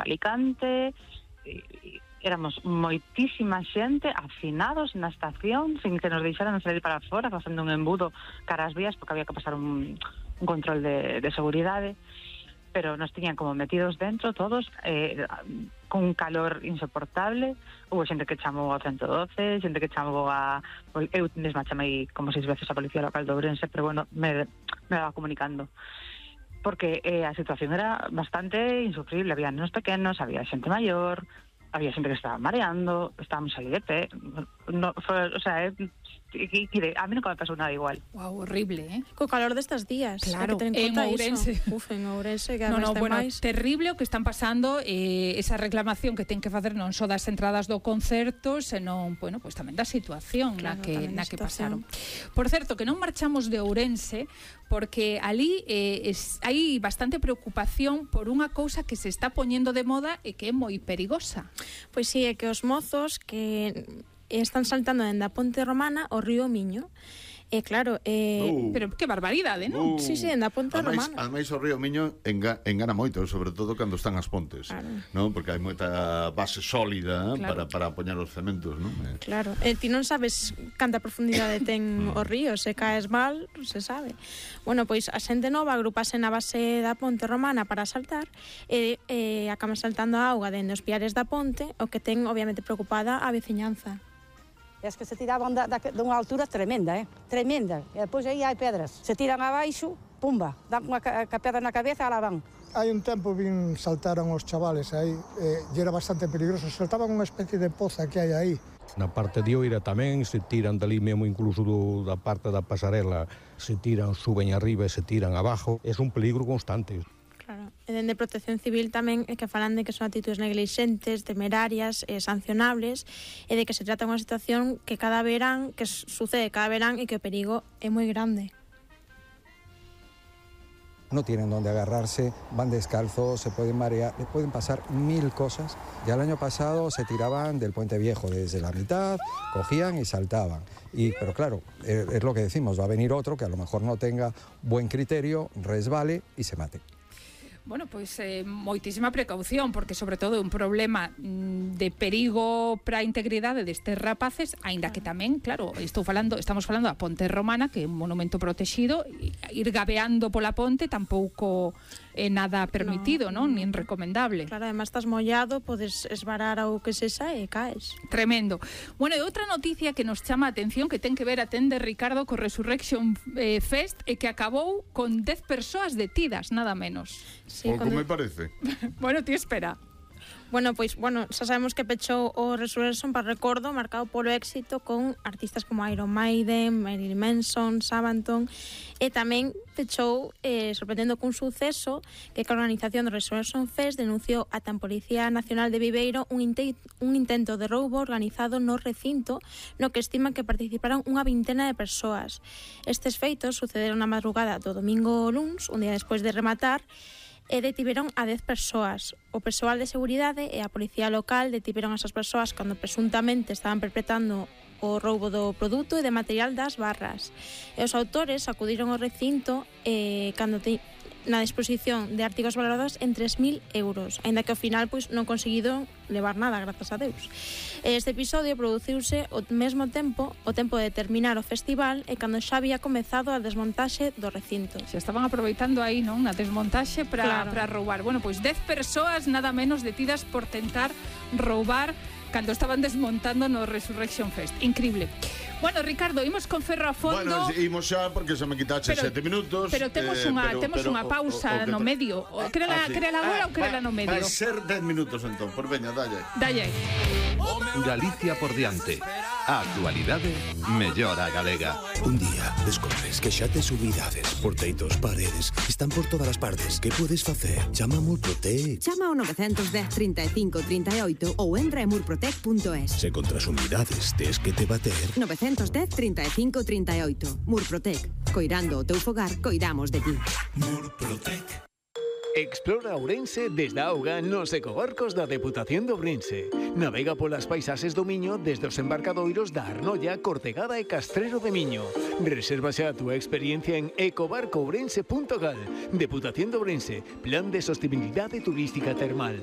Alicante, éramos moitísima xente, afinados na estación, sin que nos deixaran salir para fora, facendo un embudo cara ás vías, porque había que pasar un control de seguridade, pero nos tiñan como metidos dentro todos, con un calor insoportable. Hubo xente que chamou ao 112, xente que chamou eu mesma chamei como 6 veces a Policía Local de Ourense, pero bueno, me daba comunicando, porque a situación era bastante insufrible. Había nenos pequenos, había xente maior, había xente que estaba mareando, estábamos aí de pé. No, o sea, a mí nunca me pasou nada igual. Wow, horrible, Co calor destes días. Claro, en Ourense. En Ourense, que máis. Terrible o que están pasando, esa reclamación que ten que facer non só das entradas do concerto, senón, bueno, pues tamén da situación na que pasaron. Por certo, que non marchamos de Ourense, porque ali hai bastante preocupación por unha cousa que se está poñendo de moda e que é moi perigosa. Pois sí, é que os mozos que están saltando dende a Ponte Romana ao río Miño. E claro, pero que barbaridade, non? Sí, dende a Ponte Romana. Ademais o río Miño engana moito, sobre todo cando están as pontes, non? Porque hai moita base sólida para apoñar os cementos, non? Claro, ti non sabes canta profundidade ten o río, se caes mal, se sabe. Bueno, pois a xente nova agrupase na base da Ponte Romana para saltar e acaban saltando a auga dende os piares da ponte, o que ten obviamente preocupada a veciñanza. Es que se tiraban dunha altura tremenda, tremenda. E depois aí hai pedras. Se tiran abaixo, pumba, dan unha pedra na cabeza e la van. Hai un tempo saltaron os chavales aí, e era bastante peligroso. Saltaban unha especie de poza que hai aí. Na parte de Oira tamén se tiran dali mesmo, incluso da parte da pasarela, se tiran, suben arriba e se tiran abajo. É un peligro constante. Claro, e dende Protección Civil tamén é que falan de que son actitudes neglixentes, temerarias e sancionables, e de que se trata unha situación que sucede cada verán e que o perigo é moi grande. No tienen donde agarrarse, van descalzos, se pueden marear, les pueden pasar 1000 cosas. Ya el año pasado se tiraban del Puente Viejo desde la mitad, cogían y saltaban. Pero claro, es lo que decimos, va a venir otro que a lo mejor no tenga buen criterio, resbale y se mate. Bueno, pois moitísima precaución, porque sobre todo é un problema de perigo para a integridade destes rapaces, aínda que tamén, claro, estamos falando da Ponte Romana, que é un monumento protegido, ir gabeando pola ponte tampouco é nada permitido, non? Nin recomendable. Claro, además estás mollado, podes esvarar ao que sexa e caes. Tremendo. Bueno, e outra noticia que nos chama a atención, que ten que ver, atende Ricardo, co Resurrection Fest, e que acabou con 10 persoas detidas, nada menos. Sí, como me parece. Bueno, ti espera. Bueno, pois, xa sabemos que pechou o Resurrection para recordo, marcado polo éxito con artistas como Iron Maiden, Marilyn Manson, Sabaton, e tamén pechou, sorprendendo cun suceso, que a organización do Resurrection Fest denunciou ata a Policía Nacional de Viveiro un intento de roubo organizado no recinto, no que estiman que participaron unha vintena de persoas. Estes feitos sucederon na madrugada do domingo luns, un día despois de rematar, e detiveron a 10 persoas. O persoal de seguridade e a policía local detiveron a esas persoas cando presuntamente estaban perpetrando o roubo do produto e de material das barras. E os autores acudiron ao recinto cando na disposición de artigos valorados en 3.000 euros, aínda que ao final non conseguido levar nada, grazas a Deus. Este episodio produciuse ao mesmo tempo, o tempo de terminar o festival, e cando xa había comezado a desmontaxe do recinto. Se estaban aproveitando aí, non, na desmontaxe para roubar. Bueno, pois 10 persoas nada menos detidas por tentar roubar cando estaban desmontando no Resurrection Fest. Increíble. Bueno, Ricardo, imos con ferro a fondo. Bueno, imos xa porque se me quitache 7 minutos. Pero temos unha pausa no medio. Querela agora ou querela no medio? Vai ser 10 minutos entón, por veña, dalle. Galicia por diante. A actualidade mellora a galega. Un día descobres que xa tes humidades, porteitos, paredes, están por todas as partes. Que podes facer? Chama a Murprotec. Chama ao 910 35 38 ou entra en murprotec.es. Se contra as humidades tes que te bater. 910 35 38. Murprotec. Coirando o teu fogar, coidamos de ti. Murprotec. Explora Ourense desde a auga nos ecobarcos da Deputación de Ourense. Navega polas paisaxes do Miño desde os embarcadoiros da Arnolla, Cortegada e Castrero de Miño. Reserva xa a túa experiencia en ecobarcoourense.gal. Deputación de Ourense, Plan de Sostenibilidade Turística Termal.